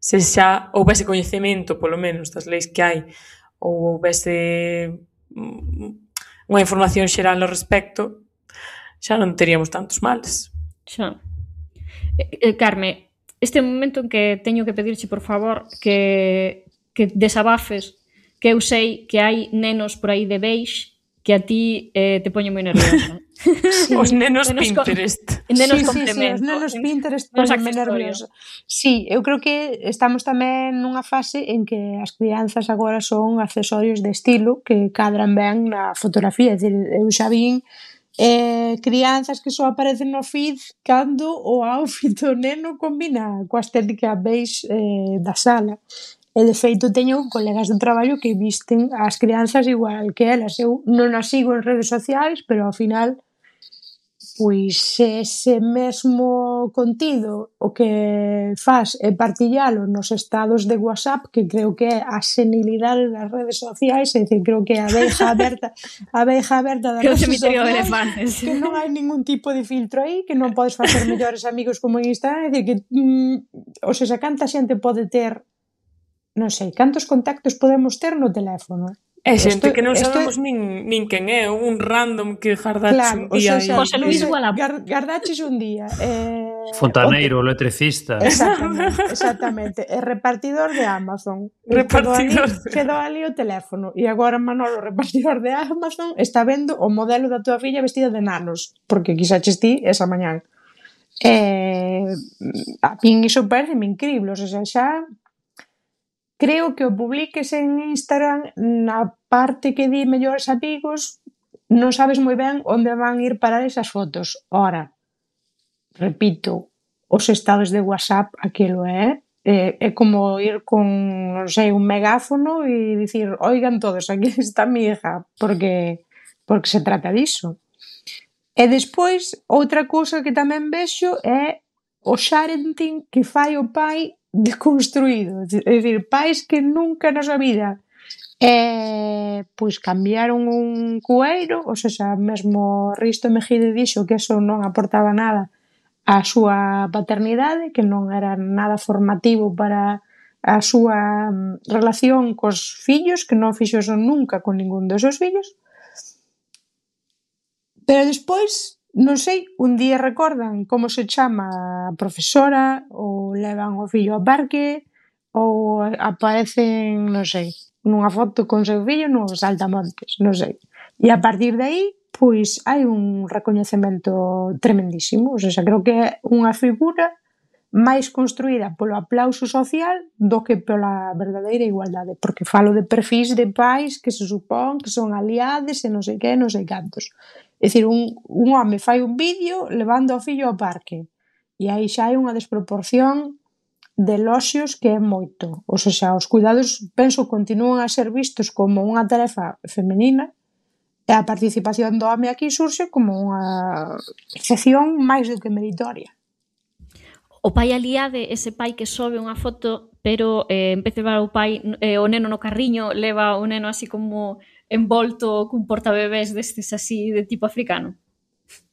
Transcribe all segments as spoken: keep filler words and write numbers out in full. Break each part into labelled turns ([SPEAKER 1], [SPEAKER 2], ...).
[SPEAKER 1] se xa houbese coñecemento, polo menos, das leis que hai, ou houbese unha información xeral ao respecto, xa non teríamos tantos males.
[SPEAKER 2] Xa. Eh, Carme, este momento en que teño que pedirche, por favor, que, que desabafes, que eu sei que hai nenos por aí de beige que a ti eh, te poñen moi nerviosa.
[SPEAKER 1] Sí. Os nenos, nenos Pinterest.
[SPEAKER 2] Con, nenos
[SPEAKER 3] sí, sí, sí, os nenos Pinterest poñenme nerviosa. Sí, eu creo que estamos tamén nunha fase en que as crianzas agora son accesorios de estilo que cadran ben na fotografía. É dicir, eu xa vin eh, crianzas que só aparecen no feed cando o outfit do neno combina coa estética beige eh, da sala. E de feito teño colegas do traballo que visten as crianzas igual que elas. Eu non as sigo en redes sociais, pero ao final pois ese mesmo contido o que faz é partillalo nos estados de WhatsApp, que creo que é a senilidade das redes sociais, é dicir, creo que é a veja aberta a veja aberta das redes sociais, que non hai ningún tipo de filtro aí, que non podes facer mellores amigos como en Instagram, é dicir, que mm, o sea, canta xente pode ter, non sei, cantos contactos podemos ter no teléfono.
[SPEAKER 1] É xente esto, que non sabemos esto... nin, nin quen é, un random que gardaches
[SPEAKER 3] claro,
[SPEAKER 1] un día.
[SPEAKER 3] O sea, José Luis Gualap. Gardaches un día.
[SPEAKER 4] Eh, Fontaneiro, o electricista.
[SPEAKER 3] Exactamente, exactamente. É repartidor de Amazon.
[SPEAKER 1] Repartidor.
[SPEAKER 3] Quedou ali, ali o teléfono. E agora Manolo, repartidor de Amazon, está vendo o modelo da tua filla vestida de nanos. Porque quixaches ti esa mañán. Eh, a min iso pareceme increíble. O sea, xa... Creo que o publiques en Instagram na parte que di mellores amigos non sabes moi ben onde van ir parar esas fotos. Ora, repito, os estados de WhatsApp aquilo é é, é como ir con, non sei, un megáfono e dicir, oigan todos, aquí está mi hija, porque porque se trata diso. E despois, outra cousa que tamén vexo é o sharenting que fai o pai desconstruído, é dicir, pais que nunca na súa vida eh, pois cambiaron un cueiro, ou seja, mesmo Risto Mejide dixo que eso non aportaba nada á súa paternidade, que non era nada formativo para a súa relación cos fillos, que non fixo eso nunca con ningún dos seus fillos, pero despois non sei, un día recordan como se chama a profesora, ou levan o fillo ao parque, ou aparecen, non sei, nunha foto con seu fillo nos saltamontes, non sei. E a partir de aí, pois, hai un recoñecemento tremendísimo. O sea, creo que é unha figura máis construída polo aplauso social do que pola verdadeira igualdade, porque falo de perfis de pais que se supón que son aliados e non sei que, non sei cantos. É dicir, un, un home fai un vídeo levando ao fillo ao parque e aí xa hai unha desproporción de eloxios que é moito. O sea, os cuidados, penso, continúan a ser vistos como unha tarefa femenina e a participación do home aquí surxe como unha excepción máis do que meritoria.
[SPEAKER 2] O pai aliade, ese pai que sobe unha foto, pero eh, en vez de levar o pai eh, o neno no carriño, leva o neno así como envolto cun portabebés destes así de tipo africano.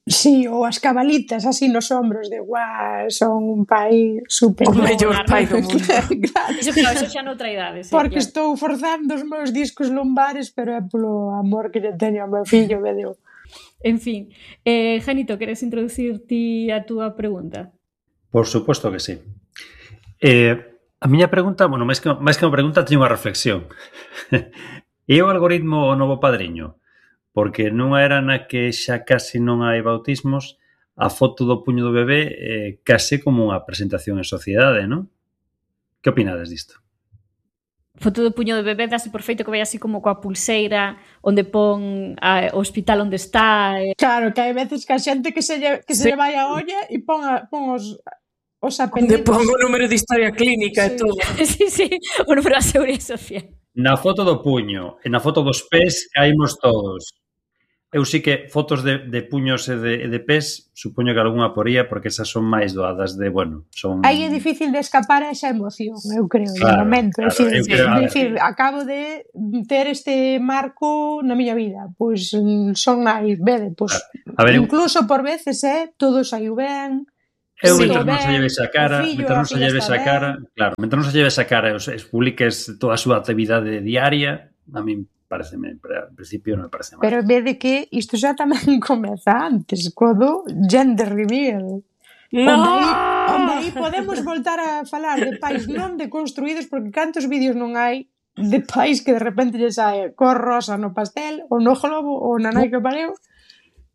[SPEAKER 3] Sí, ou as cabalitas así nos ombros de guau, son un pai super...
[SPEAKER 1] O mellor pai do mundo.
[SPEAKER 2] Claro. Iso, claro, iso xa noutra idade. Sí,
[SPEAKER 3] porque
[SPEAKER 2] claro.
[SPEAKER 3] Estou forzando os meus discos lumbares, pero é polo amor que lle teño ao meu fillo, me deu.
[SPEAKER 2] En fin, eh, Janito, queres introducir ti a túa pregunta?
[SPEAKER 4] Por suposto que sí. Eh, a miña pregunta, bueno, máis que, máis que unha pregunta, teño unha reflexión. E o algoritmo o novo padriño? Porque nunha era na que xa casi non hai bautismos, a foto do puño do bebé é eh, case como unha presentación en sociedade, non? Que opinades disto?
[SPEAKER 2] Foto do puño do bebé dase por feito que vai así como coa pulseira onde pon a, o hospital onde está. E...
[SPEAKER 3] Claro, que hai veces que a xente que se lle, que sí. se lle vai a olla e pon, a, pon os, os apelidos.
[SPEAKER 1] Onde pon o número de historia clínica sí. e todo.
[SPEAKER 2] Sí, sí, o número da Seguridade Social.
[SPEAKER 4] Na foto do puño e na foto dos pés caímos todos. Eu sí que fotos de, de puños e de, de pés supoño que algunha poría porque esas son máis doadas de, bueno, son...
[SPEAKER 3] Aí é difícil de escapar a esa emoción, eu creo,
[SPEAKER 4] claro,
[SPEAKER 3] no momento.
[SPEAKER 4] Claro,
[SPEAKER 3] é dicir,
[SPEAKER 4] creo,
[SPEAKER 3] é dicir, acabo de ter este marco na miña vida, pois son aí, vede, pois, a ver, incluso por veces, eh, todo saiu ben,
[SPEAKER 4] Eu,
[SPEAKER 3] Sí.
[SPEAKER 4] mentre non se lle
[SPEAKER 3] Ben,
[SPEAKER 4] vexe a cara,
[SPEAKER 3] o fillo,
[SPEAKER 4] mentre non
[SPEAKER 3] a
[SPEAKER 4] se
[SPEAKER 3] filla
[SPEAKER 4] lle
[SPEAKER 3] está
[SPEAKER 4] vexe a
[SPEAKER 3] ben.
[SPEAKER 4] cara, claro, mentre non se lle vexe a cara e os publiques toda a súa actividade diaria, a min pareceme, en principio non me parece mal.
[SPEAKER 3] Pero ve de que isto xa tamén comeza antes, co do gender reveal.
[SPEAKER 1] No!
[SPEAKER 3] Onde aí, onde aí podemos voltar a falar de pais non deconstruídos, porque cantos vídeos non hai de pais que de repente lle sae cor rosa no pastel, ou no globo, ou na nai que pareu,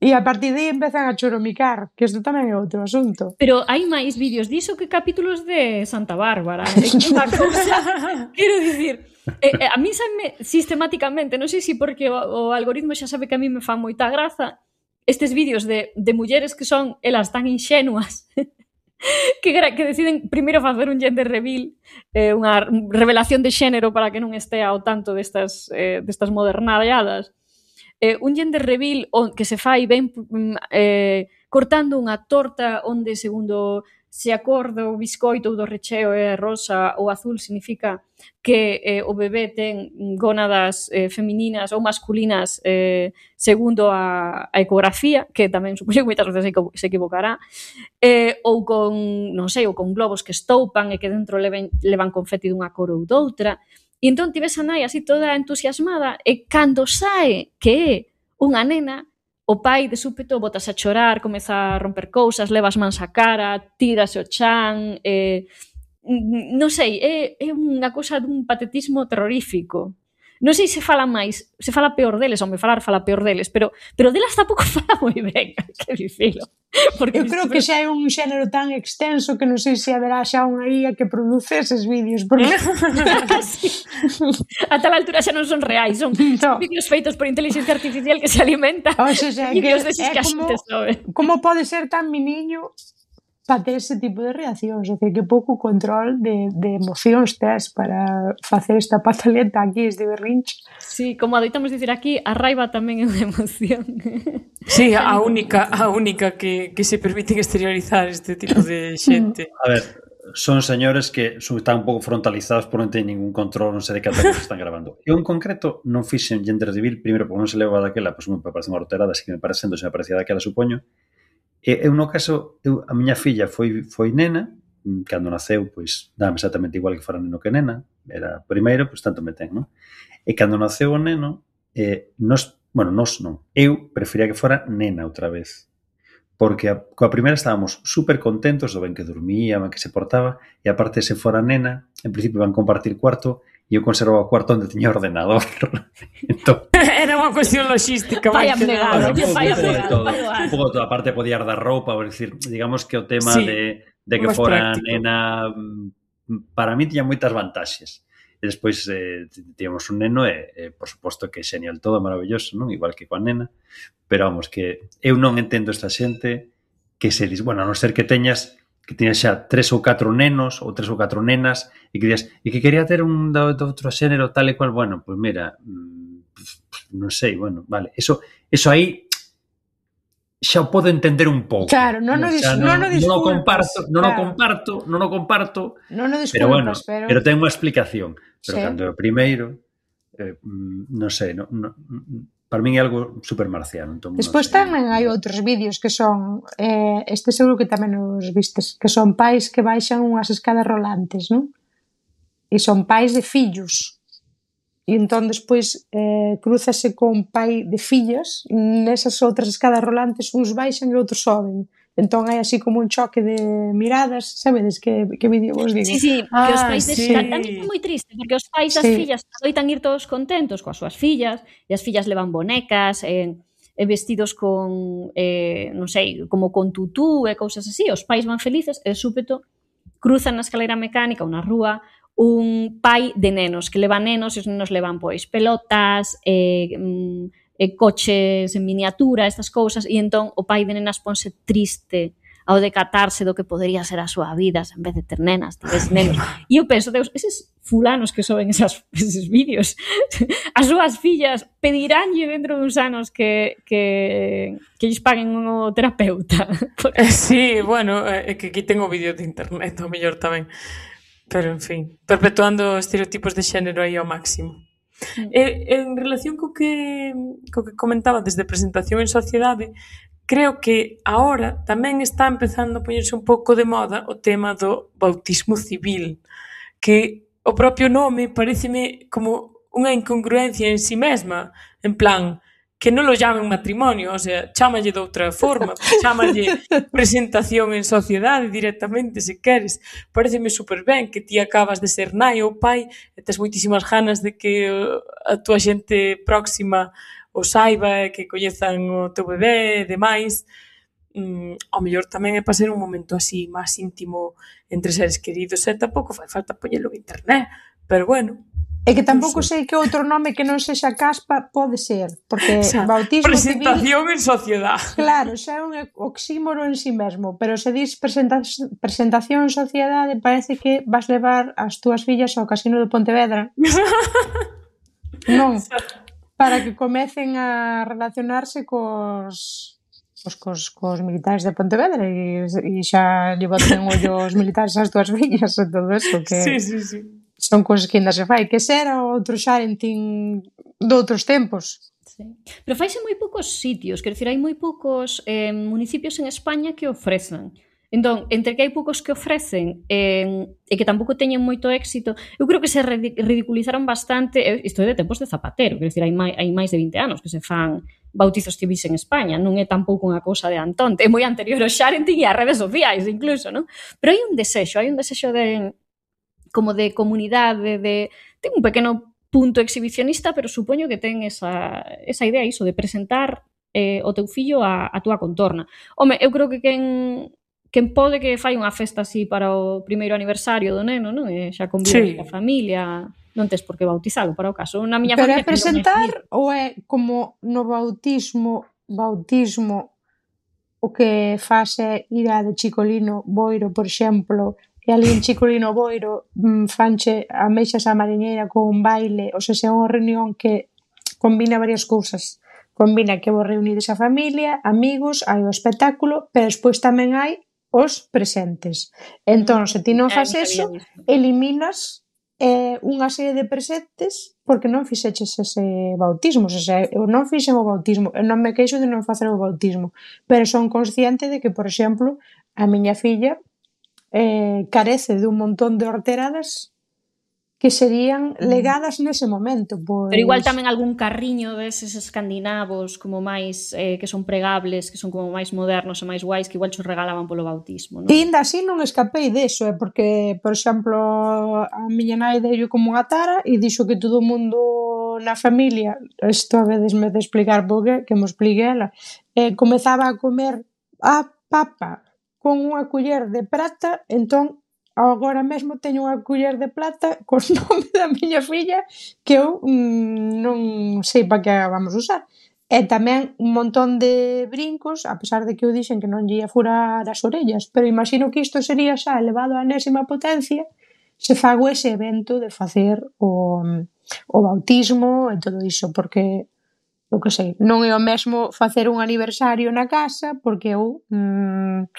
[SPEAKER 3] e a partir de aí empezan a choromicar, que isto tamén é outro asunto.
[SPEAKER 2] Pero hai máis vídeos diso que capítulos de Santa Bárbara. É que unha cousa, quero dicir, eh, eh, a mí saime sistemáticamente, non sei se porque o, o algoritmo xa sabe que a mí me fan moita graza, estes vídeos de, de mulleres que son elas tan inxenuas que, que deciden primeiro facer un gender reveal, eh, unha revelación de xénero para que non estea ao tanto destas, eh, destas modernalladas. Eh, un gender reveal que se fai ben eh, cortando unha torta onde, segundo se a cor do biscoito ou do recheo é rosa ou azul, significa que eh, o bebé ten gónadas eh, femininas ou masculinas eh, segundo a, a ecografía, que tamén supoño que moitas veces se equivocará, eh, ou con, non sei, ou con globos que estoupan e que dentro leven, levan confeti dunha cor ou doutra. E entón tivese a nai así toda entusiasmada e cando sae que é unha nena, o pai de súpeto botas a chorar, comeza a romper cousas, leva as mans a cara, tírase ao chan, eh, non sei, é, é unha cousa dun patetismo terrorífico. Non sei se fala máis, se fala peor deles, ou me falar fala peor deles, pero, pero delas tampouco fala moi ben, que dicilo.
[SPEAKER 3] Porque eu creo que xa é un xénero tan extenso que non sei se haberá xa unha I A que produce eses vídeos. Porque...
[SPEAKER 2] sí. A tal altura xa non son reais, son
[SPEAKER 3] no.
[SPEAKER 2] vídeos feitos por inteligencia artificial que se alimenta
[SPEAKER 3] o sea,
[SPEAKER 2] vídeos
[SPEAKER 3] que
[SPEAKER 2] deses que a xente sabe.
[SPEAKER 3] Como pode ser tan miniño para ter ese tipo de reaccións? O sea, que pouco control de, de emocións tes para facer esta pataleta aquí, este berrinche.
[SPEAKER 2] Sí, como adoitamos dicir aquí, a raiva tamén é unha emoción.
[SPEAKER 1] Sí, a única, a única que, que se permiten exteriorizar este tipo de xente.
[SPEAKER 4] A ver, son señores que son, están un pouco frontalizados por non ter ningún control, non sei de que ata que se están grabando. Eu en concreto non fixe un gender reveal, primeiro porque non se leva daquela, pois me parece unha roterada, así que me parecendo se me parecía daquela, supoño. E eu no caso, eu, a miña filla foi, foi nena, cando naceu, pois dame exactamente igual que fora neno que nena, era primeiro, pois tanto me ten, non? E cando naceu o neno, eh, nos, bueno, nos non, eu prefería que fora nena outra vez, porque a, coa primeira estábamos super contentos do ben que dormía, ben que se portaba, e aparte se fora nena, en principio van compartir cuarto, e eu conservaba o cuarto onde tiña ordenador. Entón,
[SPEAKER 1] era unha cuestión logística.
[SPEAKER 2] Vai abnegado,
[SPEAKER 1] que
[SPEAKER 2] vai abnegado.
[SPEAKER 4] Un pouco toda, aparte podía dar roupa, por decir, digamos que o tema
[SPEAKER 1] sí,
[SPEAKER 4] de, de que fora práctico. Nena, para mí tiña moitas vantaxes. E despois eh, tíamos un neno e, eh, por suposto que é genial todo, maravilloso, non? Igual que coa nena, pero vamos, que eu non entendo esta xente que se dis, bueno, a non ser que teñas que tiñas xa tres ou catro nenos ou tres ou catro nenas e que digas, e que quería ter un do, do outro xénero tal e cual, bueno, pois pues mira, non sei, bueno, vale, eso, eso aí xa o podo entender un pouco.
[SPEAKER 3] Claro, non o dis, non, non,
[SPEAKER 4] non o comparto, non claro. o comparto, non o comparto,
[SPEAKER 3] non o disculpas,
[SPEAKER 4] pero bueno,
[SPEAKER 3] pero...
[SPEAKER 4] pero ten unha explicación. Pero
[SPEAKER 3] sí.
[SPEAKER 4] cando é o primeiro, eh, non sei, non, non, para min é algo super marciano. Entón,
[SPEAKER 3] despois
[SPEAKER 4] no
[SPEAKER 3] tamén hai outros vídeos que son, eh, este seguro que tamén os vistes, que son pais que baixan unhas escadas rolantes, non? E son pais de fillos. E entón despois eh, cruzase con pai de fillas, nesas outras escadas rolantes uns baixan e outros soben. Entón hai así como un choque de miradas, sabedes que, que vídeo vos digo?
[SPEAKER 2] Sí, sí,
[SPEAKER 1] ah,
[SPEAKER 2] que os pais
[SPEAKER 1] sí.
[SPEAKER 2] de... tamén é moi triste, porque os pais das sí. fillas adoitan ir todos contentos coas súas fillas, e as fillas levan bonecas, e, e vestidos con, eh, non sei, como con tutú e cousas así, os pais van felices, e de súpeto cruzan na escalera mecánica ou na rúa un pai de nenos, que leva nenos e os nenos levan, pois, pelotas, e... Mm, e coches en miniatura, estas cousas, e entón o pai de nenas ponse triste ao decatarse do que podería ser a súa vida en vez de ter nenas, tivese nenos. E eu penso, Deus, eses fulanos que soben esas, eses vídeos, as súas fillas pediránlle dentro duns anos que, que, que lles paguen un terapeuta.
[SPEAKER 1] Porque... Sí, bueno, é que aquí tengo vídeos de internet, ao mellor tamén. Pero, en fin, perpetuando estereotipos de xénero aí ao máximo. E, en relación co que, co que comentaba desde presentación en sociedade, creo que ahora tamén está empezando a poñerse un pouco de moda o tema do bautismo civil, que o propio nome pareceme como unha incongruencia en si mesma, en plan, que non lo llamen matrimonio, o sea, chámalle de outra forma, chámalle presentación en sociedade directamente, se queres. Pareceme super ben que ti acabas de ser nai ou pai e tes moitísimas ganas de que a túa xente próxima o saiba e que coñezan o teu bebé e demais. Mm, ao mellor tamén é para ser un momento así máis íntimo entre seres queridos e tampouco fai falta poñelo en internet, pero bueno.
[SPEAKER 3] É que tampouco sei que outro nome que non sexa caspa pode ser, porque
[SPEAKER 1] O sea,
[SPEAKER 3] bautismo
[SPEAKER 1] presentación
[SPEAKER 3] civil,
[SPEAKER 1] en sociedade.
[SPEAKER 3] claro, xa é un oxímoro en si mesmo, pero se dis presenta- presentación en sociedade parece que vas levar as túas fillas ao casino de Pontevedra. Non, para que comecen a relacionarse cos Pois cos, cos militares de Pontevedra e, e xa lle boten ollo os militares ás túas fillas e todo eso, que
[SPEAKER 1] Sí, sí, sí.
[SPEAKER 3] son cousas que ainda se fai, que será outro xarentín de outros tempos.
[SPEAKER 2] Sí. Pero faise moi poucos sitios, quero dicir, hai moi poucos eh, municipios en España que ofrezan. Entón, entre que hai poucos que ofrecen eh, e que tampouco teñen moito éxito, eu creo que se ridiculizaron bastante, isto é de tempos de Zapatero, quero dicir, hai máis, hai máis de vinte anos que se fan bautizos civis en España, non é tampouco unha cousa de Antón, é moi anterior ao Xarentín e ás redes sociais incluso, non? Pero hai un desexo, hai un desexo de como de comunidade, de ten un pequeno punto exhibicionista, pero supoño que ten esa, esa idea iso de presentar eh, o teu fillo a, a túa contorna. Home, eu creo que quen quen pode que fai unha festa así para o primeiro aniversario do neno, non? E xa convida
[SPEAKER 1] Sí.
[SPEAKER 2] a familia, non tes por que bautizalo para o caso. Na miña
[SPEAKER 3] Pero é
[SPEAKER 2] familia
[SPEAKER 3] presentar ou é como no bautismo, bautismo o que faz é ir a de Chicolino Boiro, por exemplo, e ali en Chicolino Boiro mm, fanche a meixas a mariñeira con un baile, ou sea, é unha reunión que combina varias cousas. Combina que vos reunides a familia, amigos, hai o espectáculo, pero despois tamén hai os presentes. Entón, se ti non fas eso, eliminas eh, unha serie de presentes porque non fixeches ese bautismo. O sea, eu non fixen o bautismo, eu non me queixo de non facer o bautismo, pero son consciente de que, por exemplo, a miña filla eh, carece de un montón de horteradas que serían legadas nese momento. Pois...
[SPEAKER 2] Pero igual tamén algún carriño deses escandinavos como máis eh, que son pregables, que son como máis modernos e máis guais, que igual chos regalaban polo bautismo, non?
[SPEAKER 3] E ainda así non escapei deso, eh, porque, por exemplo, a miña nai deu como unha tara e dixo que todo o mundo na familia, isto a vedesme de explicar porque, que mo explique ela, eh, comezaba a comer a papa con unha culler de prata, entón agora mesmo teño unha culler de plata cos nomes da miña filla que eu mmm, non sei para que a vamos usar. E tamén un montón de brincos, a pesar de que eu dixen que non lle ia furar as orellas, pero imagino que isto sería xa elevado a enésima potencia se fago ese evento de facer o, o bautismo e todo iso, porque eu que sei, non é o mesmo facer un aniversario na casa, porque eu mmm,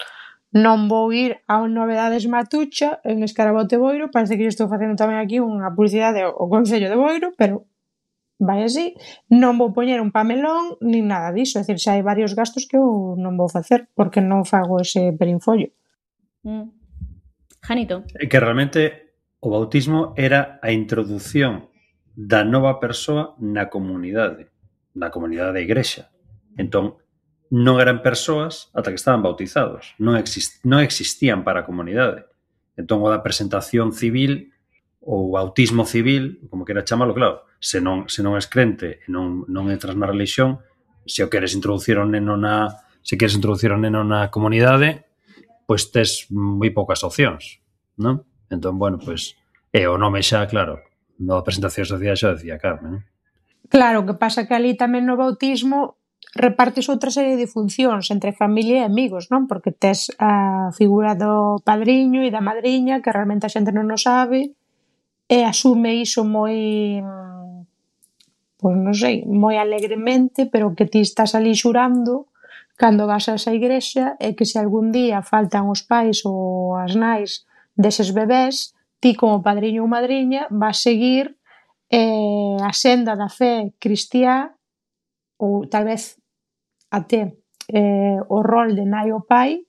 [SPEAKER 3] non vou ir a Novedades Matucha en Escarabote Boiro, parece que estou facendo tamén aquí unha publicidade ao Concello de Boiro, pero vai así, non vou poñer un pamelón nin nada diso, é dicir, xa hai varios gastos que eu non vou facer porque non fago ese perinfollo.
[SPEAKER 2] Mm. Janito.
[SPEAKER 4] É que realmente o bautismo era a introdución da nova persoa na comunidade, na comunidade da igrexa. Entón, non eran persoas ata que estaban bautizados, non, exist, non existían para a comunidade. Entón, o da presentación civil ou bautismo civil, como quera chamalo, claro, se non, se non es crente e non, non entras na religión, se o queres introducir o neno na se queres introducir o neno na comunidade, pois tes moi poucas opcións, non? Entón, bueno, pois, e o nome xa, claro, na presentación social xa decía Carmen.
[SPEAKER 3] Claro, o que pasa que ali tamén no bautismo repartes outra serie de funcións entre familia e amigos, non? Porque tes a figura do padriño e da madriña que realmente a xente non o sabe e asume iso moi, pois non sei, moi alegremente, pero que ti estás ali xurando cando vas a esa igrexa é que se algún día faltan os pais ou as nais deses bebés, ti como padriño ou madriña vas seguir eh, a senda da fe cristiá ou tal vez até eh, o rol de nai ou pai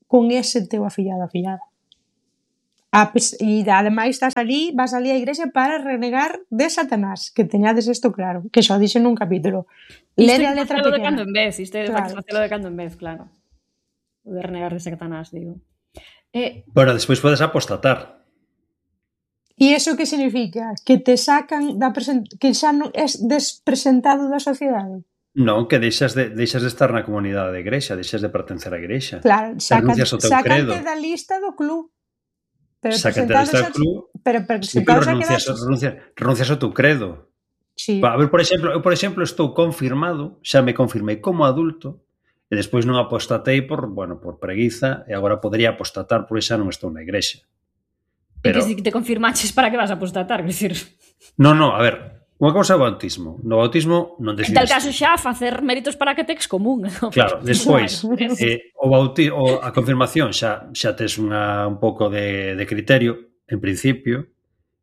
[SPEAKER 3] con ese teu afillado afillada. A, e ademais estás ali, vas ali á igrexa para renegar de Satanás, que teñades isto claro, que xa o dixen nun capítulo.
[SPEAKER 2] Lede
[SPEAKER 3] a letra
[SPEAKER 2] facelo de
[SPEAKER 3] pequena.
[SPEAKER 2] cando en vez, isto é
[SPEAKER 3] Claro.
[SPEAKER 2] facelo de cando en vez, claro. O de renegar de Satanás, digo. Eh,
[SPEAKER 4] Bueno, despois podes apostatar.
[SPEAKER 3] E iso que significa? Que te sacan da presen... que xa non és despresentado da sociedade?
[SPEAKER 4] Non, que deixas de, deixas de estar na comunidade de igrexa, deixas de pertencer á igrexa.
[SPEAKER 3] Claro, sacan,
[SPEAKER 4] Renuncias ao teu credo.
[SPEAKER 3] sacante da lista do club. Pero
[SPEAKER 4] Sácate
[SPEAKER 3] presentado
[SPEAKER 4] deste
[SPEAKER 3] xa-
[SPEAKER 4] club.
[SPEAKER 3] Pero
[SPEAKER 4] Sí,
[SPEAKER 3] presentado
[SPEAKER 4] pero
[SPEAKER 3] xa
[SPEAKER 4] renuncias,
[SPEAKER 3] quedaches.
[SPEAKER 4] renuncias, renuncias ao teu credo.
[SPEAKER 3] Sí.
[SPEAKER 4] A ver, por exemplo, eu, por exemplo, estou confirmado, xa me confirmei como adulto, e despois non apostatei por, bueno, por preguiza, e agora podría apostatar porque xa non estou na igrexa.
[SPEAKER 2] Pero...
[SPEAKER 4] Pero,
[SPEAKER 2] que si te confirmaches para que vas a apostatar, quer dicir...
[SPEAKER 4] non, non, a ver, unha cousa é o bautismo. No bautismo non
[SPEAKER 2] En
[SPEAKER 4] decides.
[SPEAKER 2] tal caso xa facer méritos para que te excomún.
[SPEAKER 4] Claro, despois,
[SPEAKER 2] Claro.
[SPEAKER 4] eh, o bauti o, a confirmación xa xa tes unha, un pouco de, de criterio, en principio,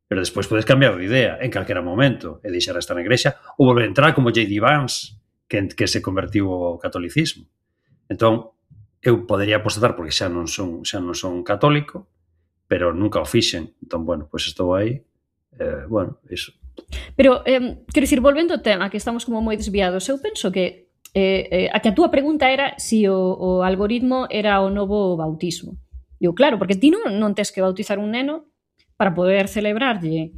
[SPEAKER 4] pero despois podes cambiar de idea en calquera momento e deixar de estar na igrexa ou volver a entrar como J D Vance, que, que se convertiu ao catolicismo. Entón, eu podería apostatar porque xa non son, xa non son católico, pero nunca o fixen. Entón, bueno, pois estou aí, eh, bueno, iso.
[SPEAKER 2] Pero, eh, quero dicir, volvendo ao tema, que estamos como moi desviados, eu penso que eh, eh, a que a túa pregunta era si o, o algoritmo era o novo bautismo. Eu, claro, porque ti non, non tes que bautizar un neno para poder celebrarlle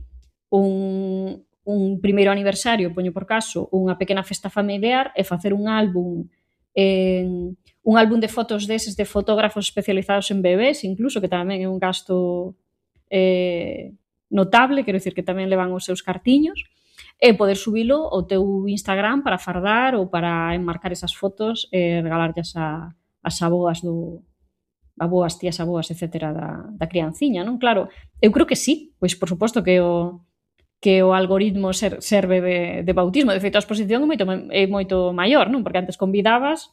[SPEAKER 2] un, un primeiro aniversario, poño por caso, unha pequena festa familiar e facer un álbum en un álbum de fotos deses de fotógrafos especializados en bebés, incluso, que tamén é un gasto eh, notable, quero dicir que tamén levan os seus cartiños, e poder subilo ao teu Instagram para fardar ou para enmarcar esas fotos e regalarllas a, as aboas do aboas, tías aboas, etcétera, da, da crianciña, non? Claro, eu creo que sí, pois por suposto que o que o algoritmo ser, serve de, de bautismo. De feito, a exposición é moito, é moito maior, non? Porque antes convidabas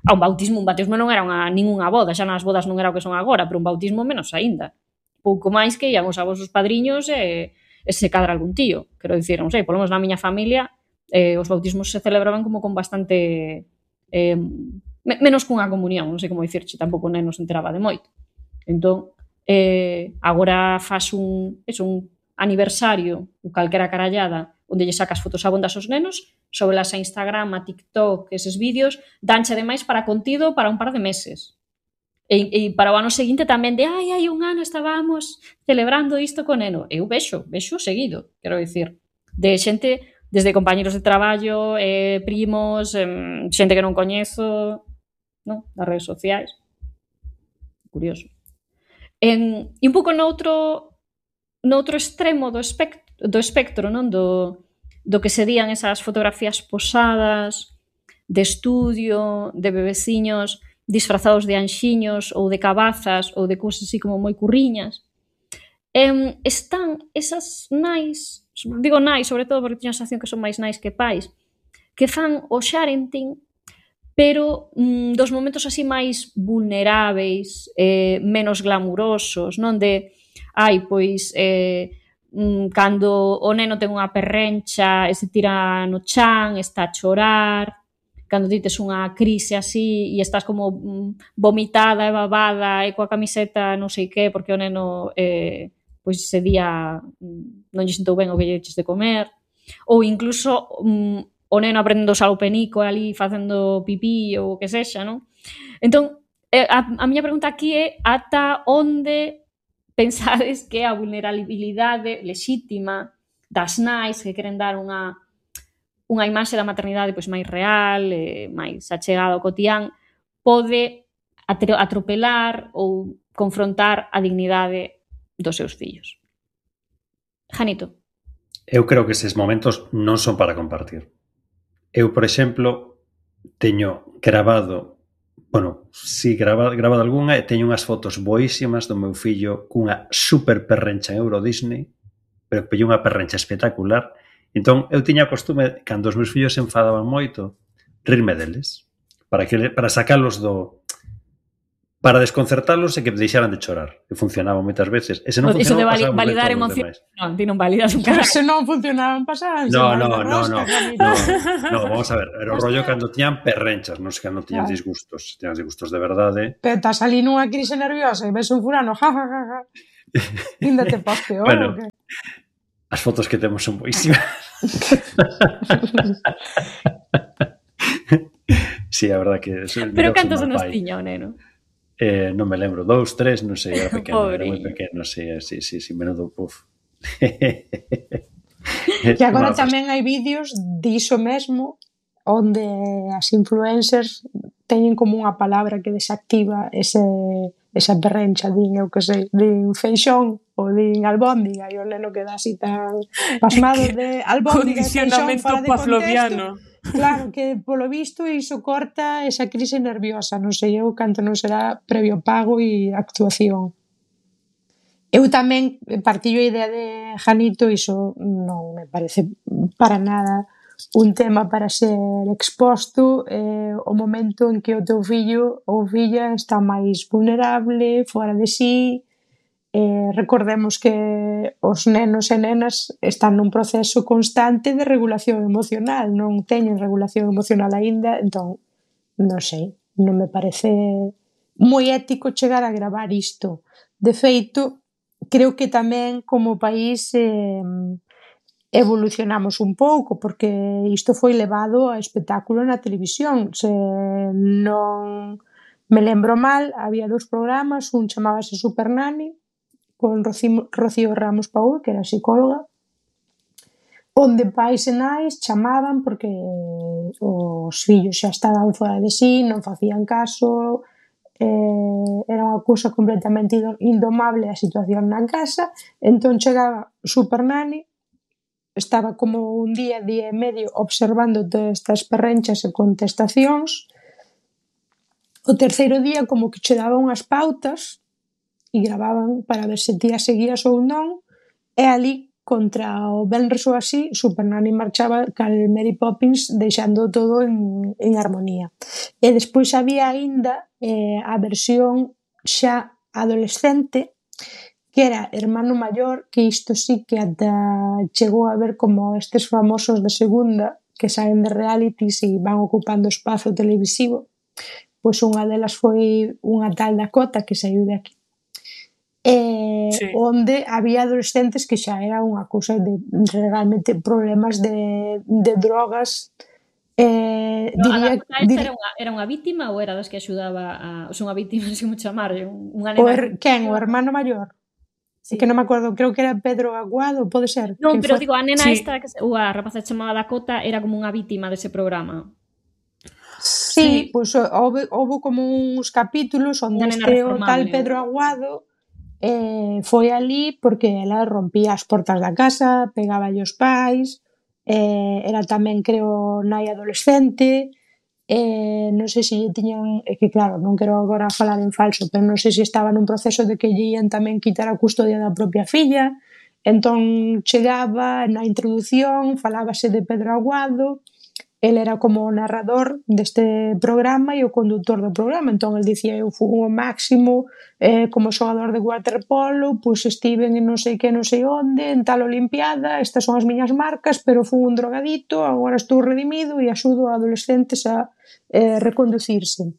[SPEAKER 2] a un bautismo, un bautismo non era unha, ninguna boda, xa nas bodas non era o que son agora, pero un bautismo menos aínda. Pouco máis que íamos a vosos padriños e, e se cadra algún tío. Quero dicir, non sei, por lo menos na miña familia eh, os bautismos se celebraban como con bastante... Eh, menos cunha comunión, non sei como dicirche, tampouco o neno se enteraba de moito. Entón, eh, agora faz un, es un aniversario ou calquera carallada onde lle sacas fotos abondas aos nenos, sobrelas a Instagram, a TikTok, eses vídeos, danche ademais para contido para un par de meses. E, e para o ano seguinte tamén de ai, hai un ano estábamos celebrando isto con neno. Eu vexo, vexo seguido, quero dicir, de xente, desde compañeros de traballo, eh, primos, eh, xente que non coñezo, non? Das redes sociais. Curioso. En, e un pouco noutro noutro extremo do espectro, do espectro, non? Do, do que serían esas fotografías posadas de estudio, de bebeciños disfrazados de anxiños ou de cabazas ou de cousas así como moi curriñas. Eh, están esas nais, digo nais sobre todo porque teño a sensación que son máis nais que pais, que fan o sharenting, pero mm, dos momentos así máis vulneráveis, eh, menos glamurosos, non de, ai, pois, eh, mm, cando o neno ten unha perrencha e se tira no chan, está a chorar, cando ti tes unha crise así e estás como mm, vomitada e babada e coa camiseta non sei que, porque o neno eh, pois ese día mm, non lle sentou ben o que lle eches de comer, ou incluso mm, o neno aprendendo o penico ali facendo pipí ou o que sexa, non? Entón, eh, a, a miña pregunta aquí é ata onde pensades que a vulnerabilidade lexítima das nais que queren dar unha unha imaxe da maternidade pois máis real, eh, máis achegada ao cotián, pode atropelar ou confrontar a dignidade dos seus fillos. Janito.
[SPEAKER 4] Eu creo que eses momentos non son para compartir. Eu, por exemplo, teño grabado, bueno, si grabado, grabado algunha, e teño unhas fotos boísimas do meu fillo cunha super perrencha en Euro Disney, pero que unha perrencha espectacular. Entón, eu tiña a costume, cando os meus fillos se enfadaban moito, rirme deles, para, que, para sacalos do, para desconcertarlos e que deixaran de chorar. Que funcionaba moitas veces. E se non
[SPEAKER 2] Iso de
[SPEAKER 4] funcionaba,
[SPEAKER 2] vali-
[SPEAKER 4] pasábamos de
[SPEAKER 2] validar
[SPEAKER 4] todos os
[SPEAKER 2] emoción.
[SPEAKER 4] demais.
[SPEAKER 2] Non, ti non validas un
[SPEAKER 3] Pero
[SPEAKER 2] carajo.
[SPEAKER 3] se non funcionaban, pasaban.
[SPEAKER 4] No, no, no, no, no, no, vamos a ver, era o rollo cando tiñan perrenchas, non sei cando tiñan
[SPEAKER 3] Claro.
[SPEAKER 4] disgustos, se tiñan disgustos de verdade.
[SPEAKER 3] Pero estás ali nunha crise nerviosa e ves un furano, ja, ja, ja, ja. Ainda te paz peor,
[SPEAKER 4] Bueno.
[SPEAKER 3] o que?
[SPEAKER 4] As fotos que temos son boísimas. Sí, a verdad que...
[SPEAKER 2] Pero cantos anos tiña o neno?
[SPEAKER 4] Eh, non me lembro, dous, tres, non sei, era pequeno, era moi
[SPEAKER 2] Pobriño.
[SPEAKER 4] pequeno, sí, sí, sí, sí, menudo puf.
[SPEAKER 3] E agora tamén hai vídeos diso mesmo onde as influencers teñen como unha palabra que desactiva ese, esa perrencha, din, eu que sei, din feixón ou din albóndiga e o neno queda así tan pasmado de albóndiga e feixón
[SPEAKER 1] Condicionamento
[SPEAKER 3] fora de contexto.
[SPEAKER 1] pavloviano.
[SPEAKER 3] Claro, que polo visto iso corta esa crise nerviosa, non sei eu canto non será previo pago e actuación. Eu tamén partillo a idea de Janito, iso non me parece para nada un tema para ser exposto, eh, o momento en que o teu fillo ou filla está máis vulnerable, fora de sí. Eh, recordemos que os nenos e nenas están nun proceso constante de regulación emocional, non teñen regulación emocional aínda, entón, non sei, non me parece moi ético chegar a gravar isto. De feito, creo que tamén como país eh, evolucionamos un pouco, porque isto foi levado a espectáculo na televisión. Se non me lembro mal, había dous programas, un chamábase Super Nani, con Rocío, Rocío Ramos Paul, que era psicóloga, onde pais e nais chamaban porque os fillos xa estaban fora de sí, non facían caso, eh, era unha cousa completamente indomable a situación na casa. Entón chegaba Super Nani, estaba como un día, día e medio observando todas estas perrenchas e contestacións. O terceiro día como que che daba unhas pautas e gravaban para ver se ti a seguías ou non, e ali contra o venres ou así, Super Nani marchaba cal Mary Poppins deixando todo en, en armonía. E despois había aínda eh, a versión xa adolescente, que era Hermano Maior, que isto sí que ata chegou a ver como estes famosos de segunda que saen de realities e van ocupando espazo televisivo. Pois unha delas foi unha tal Dakota que saiu de aquí. Eh,
[SPEAKER 1] Sí.
[SPEAKER 3] Onde había adolescentes que xa era unha cousa de realmente problemas de, de drogas. Eh,
[SPEAKER 2] Pero a
[SPEAKER 3] diría,
[SPEAKER 2] Dakota esta
[SPEAKER 3] diría,
[SPEAKER 2] era unha, era unha vítima ou era das que axudaba a... O sea, unha vítima, non sei como chamarlle, unha
[SPEAKER 3] o
[SPEAKER 2] nena...
[SPEAKER 3] her, quen? O hermano maior?
[SPEAKER 2] Sí.
[SPEAKER 3] Que non me acordo, creo que era Pedro Aguado, pode ser?
[SPEAKER 2] Non,
[SPEAKER 3] que
[SPEAKER 2] pero
[SPEAKER 3] foi?
[SPEAKER 2] digo, a nena
[SPEAKER 1] Sí.
[SPEAKER 2] esta, que se- ou a rapaza chamada Dakota, era como unha vítima dese programa.
[SPEAKER 3] Sí, pois pues, houve, houve como uns capítulos onde
[SPEAKER 2] Unha nena
[SPEAKER 3] este o tal
[SPEAKER 2] reformable.
[SPEAKER 3] Pedro Aguado eh, foi ali porque ela rompía as portas da casa, pegaba os pais, eh, era tamén, creo, nai adolescente, eh, non sei se lle tiñan, é que claro, non quero agora falar en falso, pero non sei se estaba nun proceso de que lle ian tamén quitar a custodia da propia filla. Entón chegaba na introdución, falábase de Pedro Aguado, el era como o narrador deste programa e o conductor do programa, entón el dicía eu fui o máximo eh, como xogador de waterpolo, pois estiven en non sei que, non sei onde, en tal olimpiada, estas son as miñas marcas, pero fui un drogadito, agora estou redimido e axudo a adolescentes a eh, reconducirse.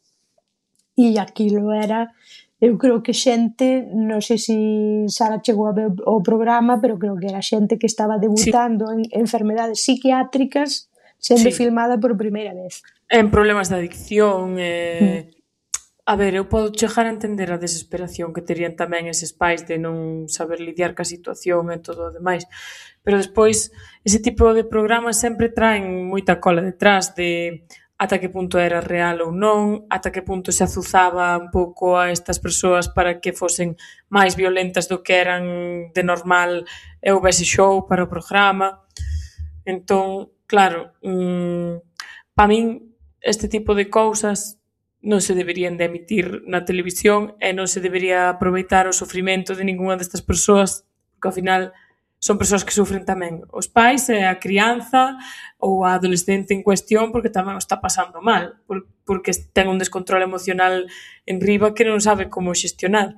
[SPEAKER 3] E aquilo era, eu creo que xente, non sei se Sara chegou a ver o programa, pero creo que era xente que estaba debutando sí. en enfermedades psiquiátricas sendo sí. filmada por primeira vez.
[SPEAKER 1] En problemas de adicción, eh... Mm. A ver, eu podo chegar a entender a desesperación que terían tamén eses pais de non saber lidiar ca situación e todo o demais, pero despois ese tipo de programas sempre traen moita cola detrás de ata que punto era real ou non, ata que punto se azuzaba un pouco a estas persoas para que fosen máis violentas do que eran de normal e houvese show para o programa. Entón, claro, mmm, para min este tipo de cousas non se deberían de emitir na televisión e non se debería aproveitar o sofrimento de ningunha destas persoas, porque ao final son persoas que sufren tamén os pais e a crianza ou a adolescente en cuestión porque tamén o está pasando mal, porque ten un descontrol emocional en riba que non sabe como xestionar.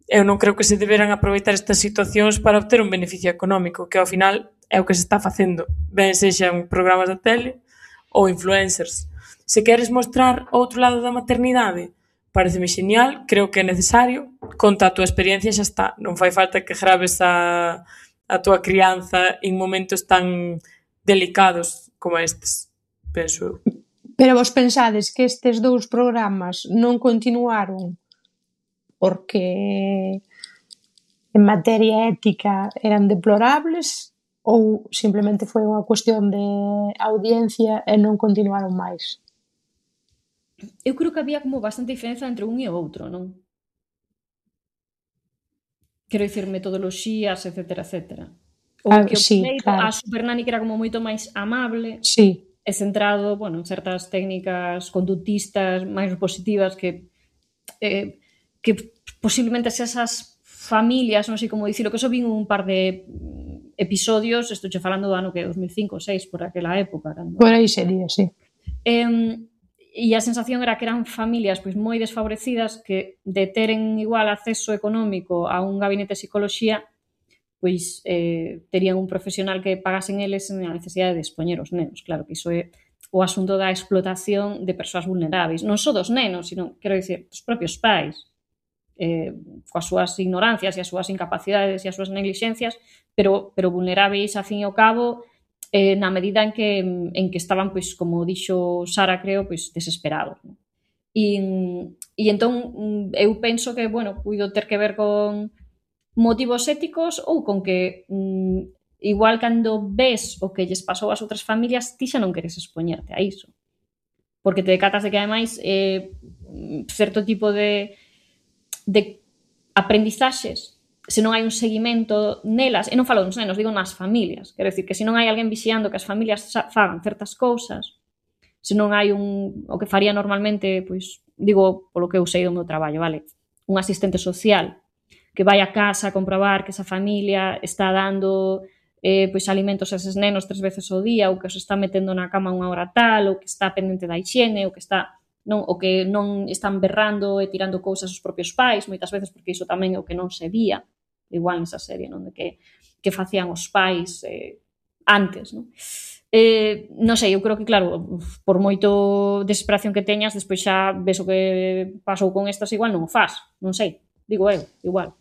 [SPEAKER 1] Eu non creo que se deberan aproveitar estas situacións para obter un beneficio económico, que ao final é o que se está facendo, ben sexan programas da tele ou influencers. Se queres mostrar outro lado da maternidade, pareceme genial, creo que é necesario, conta a túa experiencia e xa está, non fai falta que graves a, a túa crianza en momentos tan delicados como estes, penso eu.
[SPEAKER 3] Pero vos pensades que estes dous programas non continuaron porque en materia ética eran deplorables ou simplemente foi unha cuestión de audiencia e non continuaron máis?
[SPEAKER 2] Eu creo que había como bastante diferenza entre un e o outro, non? Quero dicir, metodoloxías, etcétera, etcétera. O
[SPEAKER 3] Ah,
[SPEAKER 2] que o
[SPEAKER 3] sí,
[SPEAKER 2] primeiro,
[SPEAKER 3] claro.
[SPEAKER 2] a Supernani que era como moito máis amable
[SPEAKER 3] Sí,
[SPEAKER 2] e centrado, bueno, en certas técnicas conductistas máis positivas que eh, que posiblemente se esas familias, non sei como dicilo, que só vin un par de episodios, estou che falando do ano que dos mil cinco ou seis, por aquela época. Cando...
[SPEAKER 3] por aí sería, sí.
[SPEAKER 2] Eh, e a sensación era que eran familias pois moi desfavorecidas que de teren igual acceso económico a un gabinete de psicología pois eh, terían un profesional que pagasen eles en a necesidade de expoñer os nenos. Claro que iso é o asunto da explotación de persoas vulneráveis, non só dos nenos, sino, quero dicir, dos propios pais, eh, coas súas ignorancias e as súas incapacidades e as súas neglixencias, pero, pero vulneráveis, a fin e ao cabo, eh, na medida en que, en que estaban, pois, como dixo Sara, creo, pois, desesperados. Non? E, e entón, eu penso que, bueno, puido ter que ver con motivos éticos ou con que mm, igual cando ves o que lles pasou ás outras familias ti xa non queres expoñerte a iso porque te decatas de que ademais eh, certo tipo de de aprendizaxes se non hai un seguimento nelas, e non falo dos nenos, digo nas familias, quero dicir que se non hai alguén vixiando que as familias fagan certas cousas, se non hai un o que faría normalmente, pois digo polo que eu sei do meu traballo, vale, un asistente social que vai a casa a comprobar que esa familia está dando eh, pois alimentos a eses nenos tres veces ao día, ou que os está metendo na cama unha hora tal, ou que está pendente da hixiene, ou que está non, o que non están berrando e tirando cousas aos propios pais, moitas veces porque iso tamén é o que non se vía, igual nesa serie, non, de que, que facían os pais eh, antes, non? Eh, non sei, eu creo que claro, por moito desesperación que teñas, despois xa ves o que pasou con estas, igual non o faz, non sei. Digo eu, igual.